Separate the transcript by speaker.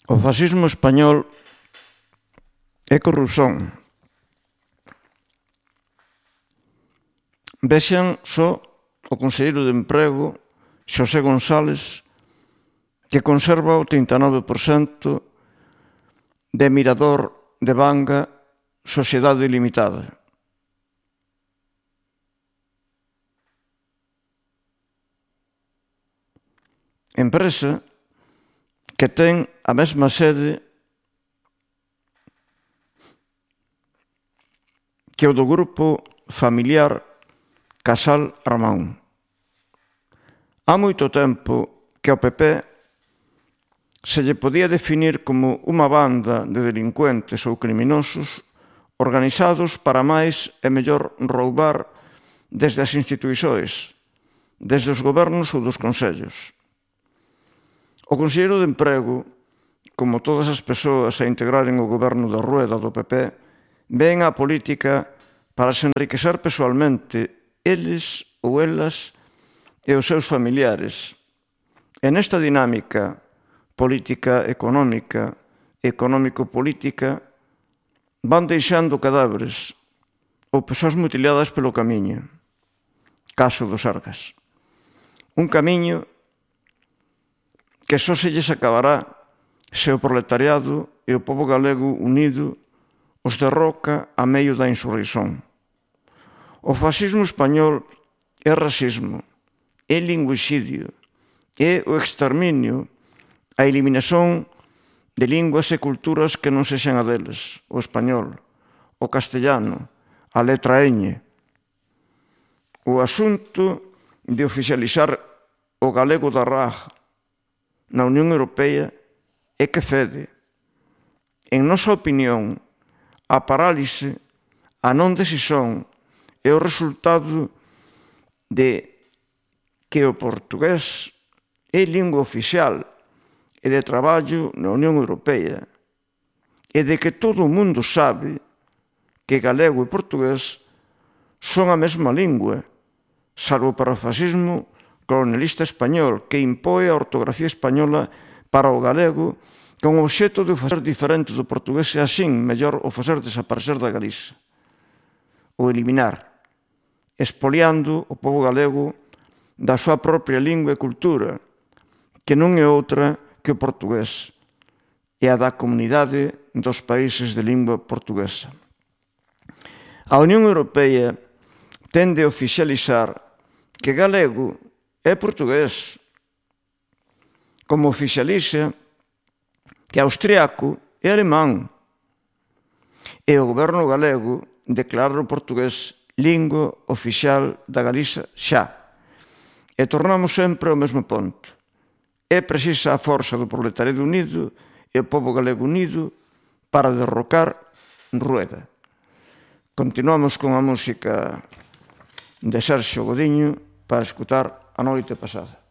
Speaker 1: O fascismo español é corrupción. Vexan só o conselleiro de Emprego, Xosé González, que conserva o 39% de Mirador de Banga, Sociedade Limitada. Empresa que ten a mesma sede que o do grupo familiar Casal Armón. Há moito tempo que ao PP se lle podía definir como unha banda de delincuentes ou criminosos organizados para máis e mellor roubar desde as instituições, desde os gobernos ou dos consellos. O conselleiro de Emprego, como todas as persoas a integraren o goberno da Rueda do PP, ven á política para se enriquecer persoalmente eles ou elas e os seus familiares. E nesta dinámica política económica, económico-política, van deixando cadáveres ou persoas mutiladas pelo camiño. Caso dos Sergas. Un camiño que só se lles acabará se o proletariado e o pobo galego unido os derroca a medio da insurreición. O fascismo español é racismo, é linguicidio, é o exterminio, a eliminación de linguas e culturas que non sexan a deles, o español, o castellano, a letra ñ. O asunto de oficializar o galego da RAG na Unión Europea é que cede. En nosa opinión, a parálise, a non decisión é o resultado de que o portugués é lingua oficial e de traballo na Unión Europea e de que todo o mundo sabe que galego e portugués son a mesma lingua, salvo para o fascismo colonialista español que impoe a ortografía española para o galego con o obxecto de o facer diferente do portugués e así mellor o facer desaparecer da Galiza, o eliminar, expoliando o pobo galego da súa propia lingua e cultura, que non é outra que o portugués e a da comunidade dos países de lingua portuguesa. A Unión Europea tende a oficializar que galego é portugués, como oficializa que austriaco é alemán, e o goberno galego declara o portugués lingua oficial da Galiza xa. E tornamos sempre ao mesmo ponto. É precisa a forza do proletariado unido e o pobo galego unido para derrocar Rueda. Continuamos con a música de Sergio Godiño para escutar A Noite Pasada.